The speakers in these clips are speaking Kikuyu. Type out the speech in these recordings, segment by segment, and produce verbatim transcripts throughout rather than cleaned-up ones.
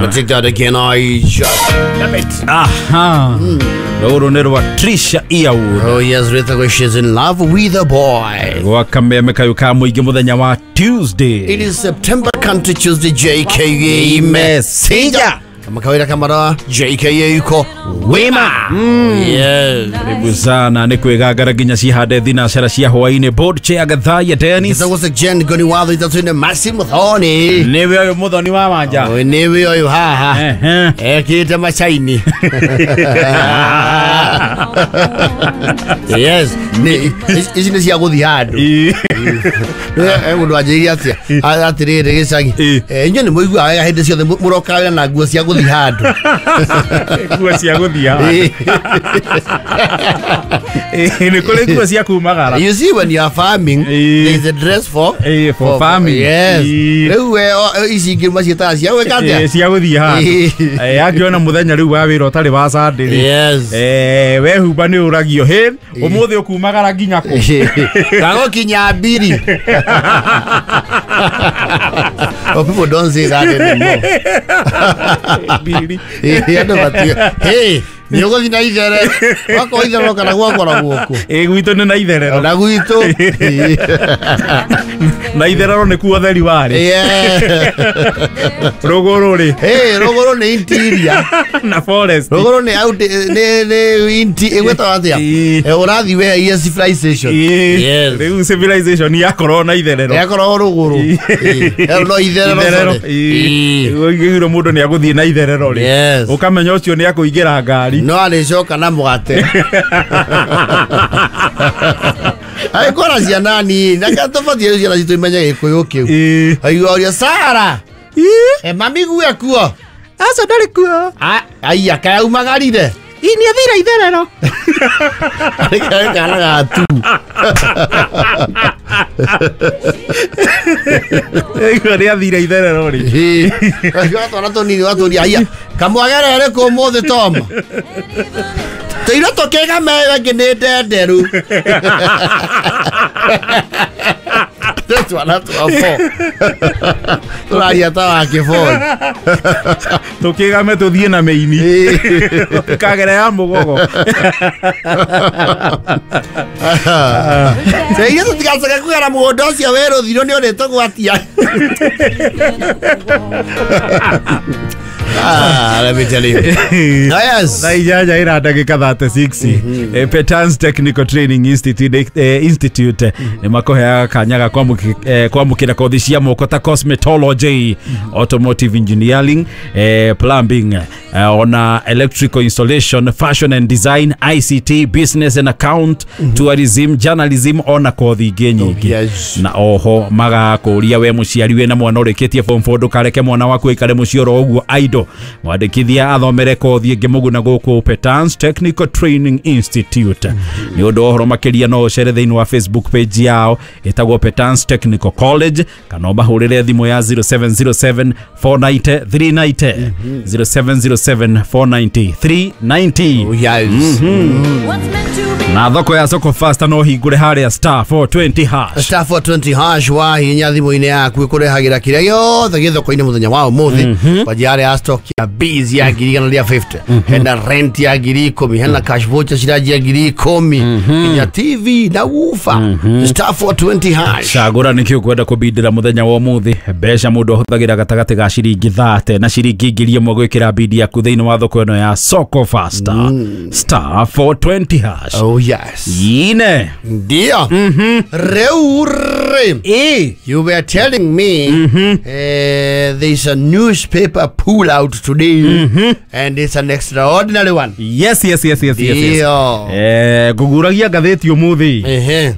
Gonna take that again. I just love it. Aha. Rũrũ nĩ rwa Trisha Earwood. Oh yes, Rita, she's in love with a boy. Gwa kameme kayo ka mũingĩ mũthenya wa Tuesday. It is September Country Tuesday. J K A Messenger. Kama kawaida kama J K A yuko wema. Mm. Yes. Karibu sana nĩ kwĩgangara nginya cihande thinacara cia hwaĩ-inĩ. Board chair Gathaiya Dennis. Gĩtagwo Jen Goni watho ithatũ nĩ Maxim Muthoni. Nĩwe ũyũ Muthoni wa Wanja. Oh, nĩwe ũyũ haha. Ekĩte macaini. Yes, nĩ ici nĩ cia gũthiĩ handũ. Nĩ mũndũ anjĩrire atĩa atĩrĩrĩ gĩcagi. Inyuĩ nĩ mũiguaga wega hĩndĩ ciothe mũrokaga wĩra na nguo cia gũthiĩ handũ. Nguo cia gũthiĩ handũ. Nĩ kũrĩ nguo cia kumagara. You see, when you are farming, there is a dress for for, for farming. Yes. Rĩu ici ingĩ maciĩtaga cia gwĩka atĩa? Cia gũthiĩ handũ. Angĩona mũthenya rĩu wa wĩra ũtarĩ wa Sunday rĩ. Yes. Eh, wehumba nĩ ũragio hĩ ũmũthĩ ũkumagara nginya kũ? Kagũkinya mbiri. Oh, people don't say that anymore. Mbiri. Andũ matiũĩ. Hey, nĩ ũgũthiĩ na ithere. Wakorwo itherero kana gwakora guoko. Ĩ gwitũ nĩ na itherero. Na gwitũ. Na itherero nĩ kuo theri warĩ. Rũgũrũ rĩ. Hey, rũgũrũ nĩ interior. Na forest. Rũgũrũ nĩ out nĩ nĩ inti ĩgwĩtagwo atĩa? Ũrathiĩ we civilization. Yes. Rĩu civilization yakorwo na itherero. Yakorwo rũgũrũ. Ĩyo no itherero. Ĩgũigĩrwo mũndũ nĩ agũthiĩ na itherero rĩ. Ũkamenya ũcio nĩ akũingĩra ngari. No arĩcoka na mũgate. Agĩkora ciana nini na tũbatiĩ ciana citũ imenye gĩkũyũ kĩu. Aigua ũria Sara. E mami gue kuo. Aca ndarĩ kuo. Aiya kaĩ aumagarire. Ĩ nĩ athire itherero. Arĩ kana gatu. Aigua nĩ athire itherero rĩ. Aigua twana tũnini watũria aiya kamwagerere kũ ũmũthĩ Tom. Tũirũ tũkĩgame angĩ nĩ ndenderu. Twana twa four. Tũraria ta wa kĩboi. Tũkĩgame tũthiĩ na mĩini. Tũkagera ya mũgogo. Tũirũ tũtigacoke kũgera mũgũnda ũcio wĩ rũthirũ nĩ ũrĩtũgwatia. Ah, let me tell you. Yes. Thaa inyanya ira ndagĩka thirty-six. Eh, Petans Technical Training Institute eh, Institute nĩ makũheaga kanya ga kwamũkĩra kothi cia moko ta cosmetology, automotive engineering, eh, plumbing, eh, ona electrical installation, fashion and design, I C T, business and account, tourism, journalism ona kothi ingĩ nyingĩ. Yes. Na oho magakũria we mũciari wĩna mwana ũrĩkĩtie form four ndũkareke mwana waku aikare mũciĩ oro ũguo idle. Mwandĩkithia athomere kothi ĩngĩ mũguna gũkũ Petans Technical Training Institute. Nĩ ũndũ wa ũhoro makĩria no ũcere thĩinĩ wa Facebook page yao ĩtagwo Petans Technical College kana ũmahũrĩre thimũ ya zero seven zero seven four nine zero three nine zero zero seven zero seven four nine zero three nine zero. Oh, yes. Na thoko ya Soko Fasta no hingũre harĩa star four twenty hash. Star four twenty hash wahinya thimũ-inĩ yaku ĩkũrehagĩra kĩrĩa gĩothe gĩ thoko-inĩ mũthenya wa ũmũthĩ. Kwanjia harĩa stock ya bees ya ngiri igana rĩa fifty, hena rent ya ngiri ikũmi, hena cash voucher ciranjia ngiri ikũmi, nginya T V na woofer. Star four twenty hash. Cagũra nĩkĩ ũkwenda kũbindĩra mũthenya wa ũmũthĩ. Mbeca mũndũ ahũthagĩra gatagatĩ ga ciringi thate na ciringi ngiri ĩmwe gwĩkĩra bidi yaku thĩinĩ wa thoko ĩno ya Soko Fasta. Star four twenty hash. Oh yes. Yine. Ndio. Rĩu rĩ. Eh. You were telling me mm-hmm. uh, there's a newspaper pull out today, mm-hmm. and it's an extraordinary one. Yes, yes, yes, yes, yes, yes. Eh, ngũguragia ngathĩti ũmũthĩ.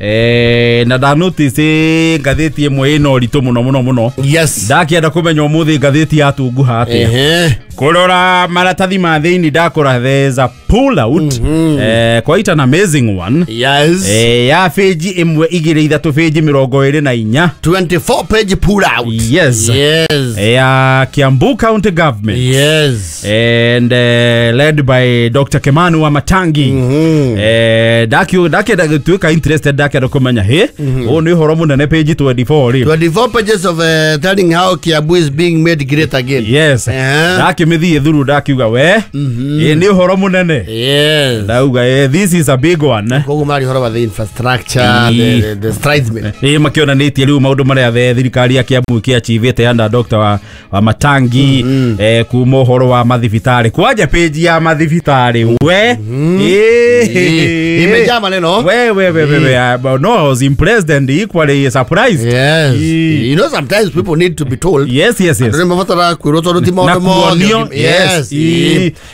Eh, na nda notice ngathĩti ĩmwe ĩna ũritũ mũno mũno mũno. Yes. Ndakĩenda kũmenya ũmũthĩ ngathĩti yatunguha atĩa. Ehe. Kũrora maratathi ma thĩinĩ ndakora there's a pull out. Mm-hmm. Eh, quite an amazing amazing one. Yes. Eh, ya page imwe igire ithatu page mirongo iri na inya. twenty-four page pull out. Yes. Yes. Ya Kiambu County Government. Yes. And uh, led by Doctor Kemanu wa Matangi. Mm-hmm. Eh, ndaki ndaki ndagituika interested ndakenda kumenya he mm-hmm. Ni uhoro munene page twenty-four ri. twenty-four pages of uh, telling how Kiambu is being made great again. Yes. Uh-huh. Ndakimithie thuru ndakiuga we mm-hmm. E ni uhoro munene. Yes. Ndauga eh, this is a big one. Koguo mari uhoro wa the infrastructure, the, the, the strides made. Eh, makionanitie riu maundu maria the thirikari ya Kiambu kiachivite under Doctor wa, wa Matangi. Mm-hmm. Eh, kuma uhoro wa mathibitari kwanja page ya mathibitari we. Mm-hmm. Eh, imejaa maneno. We we we we, we. Uh, no, I was impressed and equally surprised. Yes. E. You know, sometimes people need to be told. Yes, yes, yes. Andu nimabatara kwirwo tondu ti maundu mothe. Yes.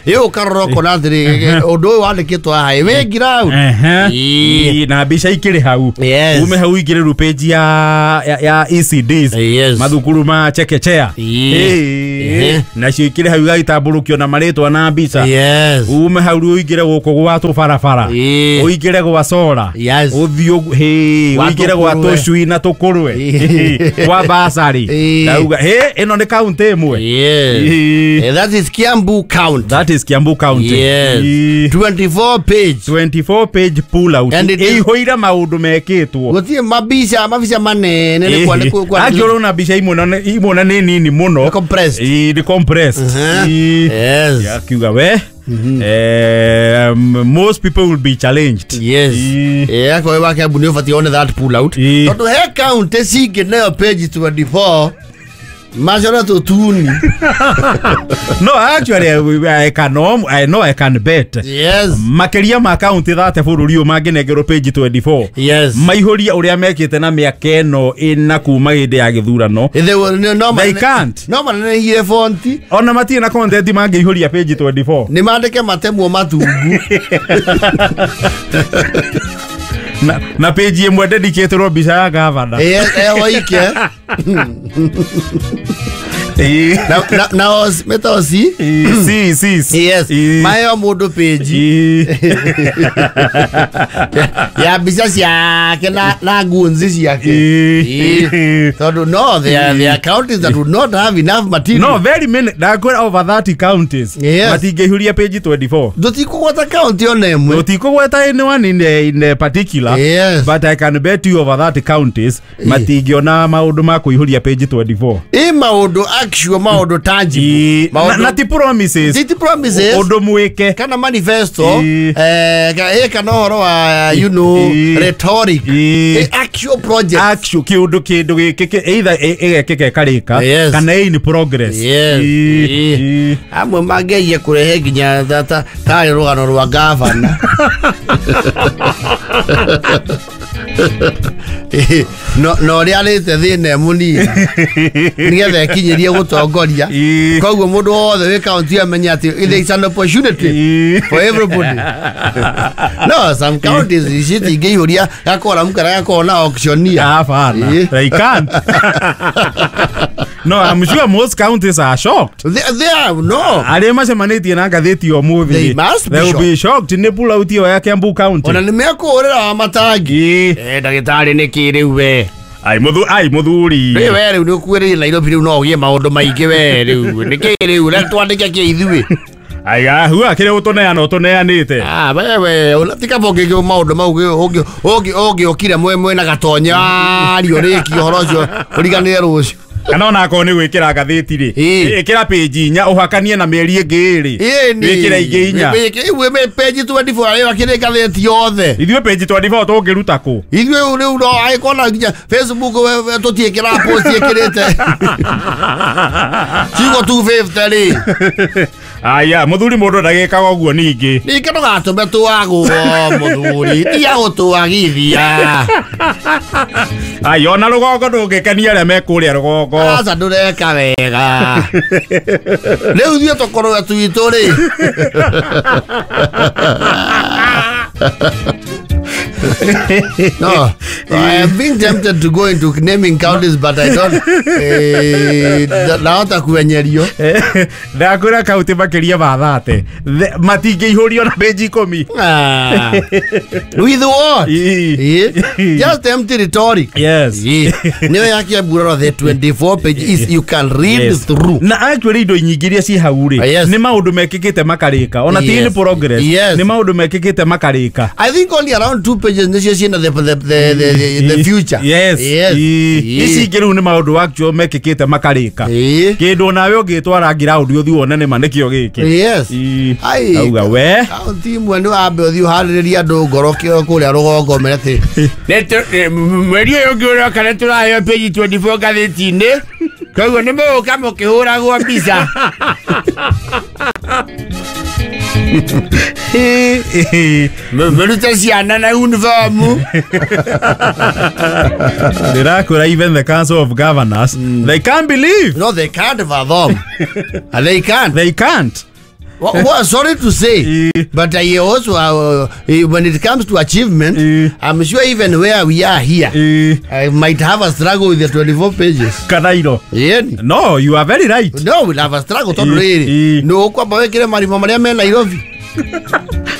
Iyo ukarora ukona atiri undu uyu wandikitwo haha wi ground. Ehe. Na mbica ikiri hau. Yes. Ume hau ikiri ru page ya ya, ya E C Ds. Yes. Mathukuru ma chekechea. Eh. Nacio ikiri hau igagitambũrũkio na marĩtwa na mbica. Yes. Ume hau rĩu ũingĩre gũkũ gwa tũbarabara. Ũingĩre gwa sora. Yes. Ũthiĩ hĩ ũingĩre gwa tũcui na tũkũrwe. Gwa basari. Ndauga hĩ ĩno nĩ county ĩmwe. Yes. Eh, that is Kiambu County. That is Kiambu County. Yes. twenty-four page. twenty-four page pull out. Ĩihũire maũndũ mekĩtwo. Gũtirĩ mabica mabica manene nĩ kwandĩkwo kwa. Angĩorwo na mbica imwe na imwe na nĩ nini mũno. Compressed. Ĩ compressed. Yes. Yakiuga we. Mm-hmm. Um, most people will be challenged. Yes. Yeah, kwa hiyo Kiambu nĩ ũbatiĩ one that pull out. Tondũ he county cingĩ nayo page twenty-four macora tũtuni. No, actually I can I know I can bet. Yes. Makeria ma county thate bũrũri ũyũ mangĩnengerwo page twenty-four. Yes. Maihũria ũrĩa mekĩte na mĩaka ĩno ĩna kuma hĩndĩ ya gĩthurano. They will no They can't. No manenehire fonti. Ona matirĩ na content mangĩihũria page twenty-four. Nĩ mandĩke matemwo matungu. Na, na page ĩmwe dedicated mbica ya gavana. Eh, eh oike. Na na na os metosi. Si si. Yes. Mayo mundu page. Ya mbica ciake na na ngunzi ciake. Tondu no there are there are counties that would not have enough material. No, very many. Ndakwira over thirty counties. Yes. Matingĩihũria page twenty-four. Ndũtikũgweta county ona ĩmwe. Ndũtikũgweta anyone in the, in the particular. Yes. But I can bet you over thirty counties matingĩona maũndũ ma kũihũria page twenty-four. Ĩ maũndũ actual maũndũ tangible. Na, na ti promises. Ti promises. Ũndũ mwĩke. Kana manifesto. Eh, kana ũhoro wa you know rhetoric. Actual project. Actual kĩũndũ kĩndũ gĩkĩ either ĩgekĩka ĩkarĩka Yes. kana in progress. Yes. Amwe mangerie kũrehe nginya ta tarĩ rũgano rwa gavana. No no ũrĩa arĩte thĩna mũnini nĩgetha ekinyĩrie gũtongoria. Koguo mũndũ wothe wĩ county amenye atĩ there is an opportunity for everybody. No, some counties citingĩihũria gakoramu karĩa gakoragwo na auctioneer. Hapana. They can't. No, I'm sure most counties are shocked. They, they are, no. Arĩa macemanĩtie na ngathĩti ũmũthĩ. They must be They will shocked. be shocked nĩ pull out ĩyo ya Kiambu County. Ona nĩ mekũhũrĩra wa matangi. Eh, ndagĩtarĩ nĩ kĩ rĩu we? Ai mũthu ai mũthuri. Rĩu we rĩu nĩ ũkuĩrĩire Nairobi rĩu no ũgĩe maũndũ maingĩ we rĩu. Nĩ kĩ rĩu reke twandĩke kĩ ithuĩ. Ai hua kĩrĩa ũtũneana ũtũneanĩte. Ah, wewe ũnatika bongĩ maũndũ mau ũngĩ ũngĩ ũngĩ ũkire mwe mwe na gatonya ario rĩki ũhoro ũcio ũriganĩre rũciũ. Kana ona akorwo nĩ gwĩkĩra ngathĩti rĩ, ĩkĩra page inya ũhakanie na mĩeri ĩngĩ ĩrĩ. Wĩkĩre ingĩ inya. Ĩĩ page twenty-four ĩyo akĩrĩ ngathĩti yothe. Ithuĩ page twenty-four tũngĩruta kũ? Ithuĩ rĩu no agĩkorwo nginya Facebook tũtiĩkĩra post ĩkĩrĩte. Ciugo two fifty rĩ. Aya, mũthuri mũndũ ndagĩkaga ũguo ningĩ. Ningĩ ndũgatũme twagwo mũthuri, tiga gũtwagithia. Ai, ona rũgongo ndũngĩkenia arĩa me kũrĩa rũgongo. Aca ndũreka wega. Rĩu ithuĩ tũkorwo twitũ rĩ. No, I have been tempted to go into naming counties, but I don't. Eh, nahota kuenyerio. Ndakwĩra kaunti makĩria ma thate matingĩihũrio na page ikũmi. Ah. With what? Ii. Yeah. Just empty rhetoric. Yes. Yeah. Niyo yake buroro the twenty-four page is you can read Yes. through. Na actually indo nyingĩ iria ci hau rĩ Yes. nĩ maũndũ mekĩkĩte makarĩka ona ti Yes. nĩ progress Yes. nĩ maũndũ mekĩkĩte makarĩka. I think only around two pages nicio ciĩna the the the the, the, the future. Yes. Yes. Ii. Ici ingĩ rĩu nĩ maũndũ actual mekĩkĩte makarĩka. Ii. Kĩndũ onawe ũngĩtwara ground ũthiĩ wone nĩma nĩkĩo gĩkĩ. Yes. Ii. Ai. Auga we Kaunti imwe nĩ wambe ũthiĩ ũharĩrĩrie andũ ngoro kĩo kũrĩa rũgongo mere atĩ Mweri ũyũ ũngĩ ũroka nĩ tũraheo page twenty-four ngathĩti-inĩ koguo nĩ mũgũka mũkĩhũragwo mbica. Mũrute ciana na uniform. Ndĩrakwĩra even the council of governors they can't believe. No, they can't fathom. And they can't. They can't. Well, well, sorry to say, but I also, uh, when it comes to achievement, Eh. I'm sure even where we are here, Eh. I might have a struggle with the twenty-four pages. Kanairo. Yeah. No, you are very right. No, we'll have a struggle. Tondũ Eh, rĩrĩ eh. nĩ ũkwamba wĩkĩre marima marĩa me Nairobi.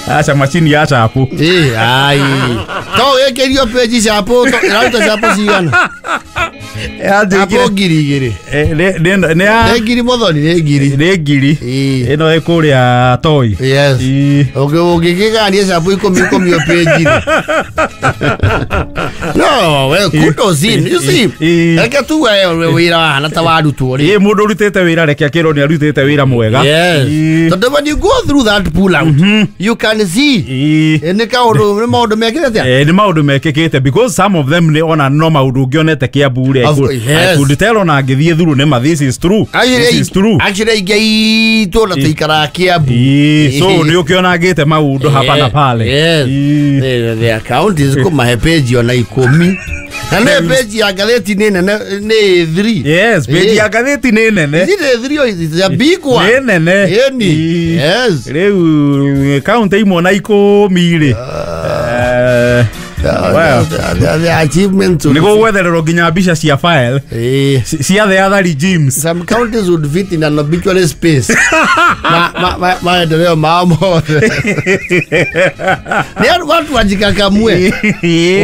Aca macini ya chapu. Eh, ai. To wĩkĩrio page chapu, to ĩraruta chapu cigana? Chapu ngiri igĩrĩ. Nĩ ya Nĩ ngiri Muthoni, nĩ ngiri. nĩ ngiri. Eh. Ĩno ĩ kũrĩa Toi. Yes. Ii. Ũngĩkĩgania chapu ikũmi ikũmi o page rĩ. No, well, kudos in. You see, Eh. reke tuge wĩra wahana ta warutwo rĩ. Ĩ mũndũ ũrutĩte wĩra reke akĩrwo nĩ arutĩte wĩra mwega. Yes. Ii. Tondũ when you go through that pull out, you can see. Ii. Eh, nĩ kaũndũ nĩ maũndũ mekĩte atĩa? Eh, nĩ maũndũ mekĩkĩte because some of them nĩ ona no maũndũ ũngĩonete Kiambu rĩ. I Of- could- yes. I could tell ona ngĩthiĩ through nĩ ma this is true. This is true. Actually aingĩ aitũ na tũikaraga Kiambu. Ii, so nĩ ũkĩonangĩte maũndũ hapa na pale. Yes. Ii. The, the counties kũmahe page ona ikũmi. Na nĩ page ya ngathĩti nĩ nene nĩ three. Yes, page Eh. ya ngathĩti nĩ nene. Is it a three or is it a big one? Nĩ nene. Ĩni. Ii. Yes. Rĩu kaunti imwe na ikũmi rĩ. Eh, well, The, the, the achievements nĩ would- gũgwethererwo nginya mbica cia file Eh. ci- cia the other regimes. Some counties would fit in an obituary space. Ma, ma, ma, maendeleo mao mothe. Nĩ andũ watu wajikakamue.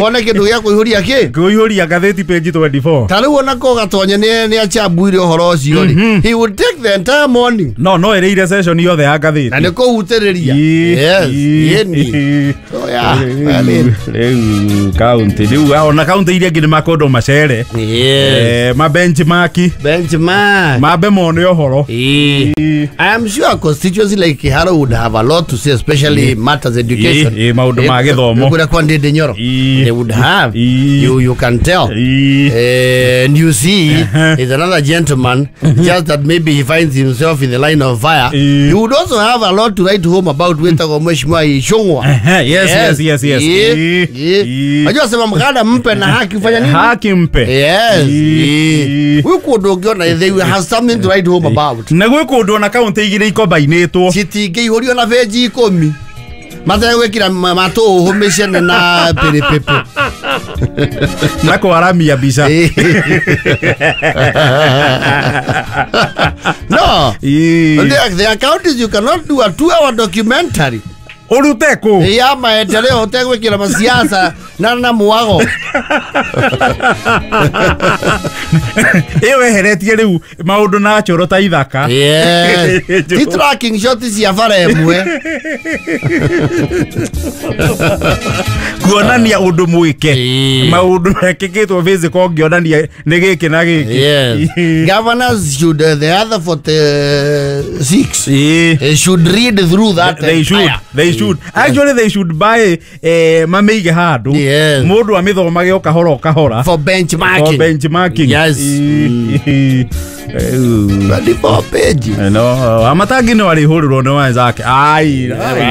Wone kĩndũ gĩa kũihũria kĩ? Kũihũria ngathĩti page twenty-four. Ta rĩu ona ko Gatonye nĩ nĩ achambuire ũhoro ũcio rĩ. He would take the entire morning. No, no ĩrĩire session yothe ya ngathĩti. Na nĩ kũhutĩrĩria. Ii, Yes. ii, Ĩni. ii. So yeah, I mean, Rĩu kaunti rĩu ona kaunti iria ingĩ nĩ makondo macere. Yes. Eh, ma benchmark Benchmark. mambe mone ũhoro. Eh. I am sure a constituency like Kiharo would have a lot to say, especially matters education. Eh, eh, maũndũ ma gĩthomo. Kũrĩa kwa Ndindi Nyoro. Eh. They would have. Eh. You, you can tell. Ii. Eh, and you see, there's another gentleman, just that maybe he finds himself in the line of fire. Eh. He would also have a lot to write home about wetagwo Mheshimiwa Ichung'wa. Ehe, yes, yes, yes, yes. Eh, Eh, eh. eh. Unajua sema mkada mpe na haki ufanya nini? Haki mpe. Yes. Eh. Eh. Huyu kũndũ ũngĩona they will have something to write home about. Na gwĩ kũndũ ona kaunti igĩrĩ ikombainĩtwo. Citingĩihũrio na benji ikũmi mategwĩkĩra matũhũ mĩcene na pĩrĩpĩpĩ. Na kwaramia mbica. No. Ii. There, there are counties you cannot do a two-hour documentary. Ũrute kũ? Ya maendeleo ũtegwĩkĩra masiasa na na mwago. Ĩyo weheretie rĩu maũndũ na choro ta ithaka. Yes. Ti tracking shot cia bara ĩmwe. Kuonania ũndũ mwĩke. Ii. Maũndũ mekĩkĩtwo physical ũngĩonania nĩ gĩkĩ na gĩkĩ. Yes. Governors should, uh, the other forty-six Ii. uh, should read through that. They should. entire- They should. Actually they should buy eh mamĩige handũ. Yes. Mũndũ amĩthomage o kahora o kahora. For benchmarking. For benchmarking. Yes. Ii. Rĩu. twenty-four pages. No, amatangi no arĩhũrĩrwo nĩ wenzake. Ai.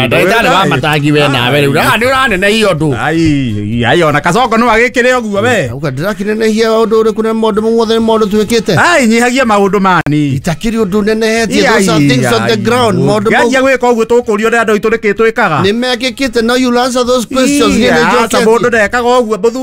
Ndagĩtarĩ wa matangi we nawe rĩu nĩ ũranenehia ũndũ. Ai, ai ona Kasongo no agĩkĩre ũguo we. Uga ndĩrakĩnenehia ũndũ ũrĩkũ na maũndũ mothe nĩ maũndũ twĩkĩte. Ai, nyihagia maũndũ mani. Itakĩrĩ ũndũ nenehetie, those are things on the ground. Maũndũ mau Nganjia gwĩka ũguo tũkũrio nĩ andũ aitũ nĩkĩ twĩkaga. nĩ mekĩkĩte. Now you'll answer those questions. Niĩ nĩ Aca njoketie. mũndũ ndekaga ũguo mũthuri.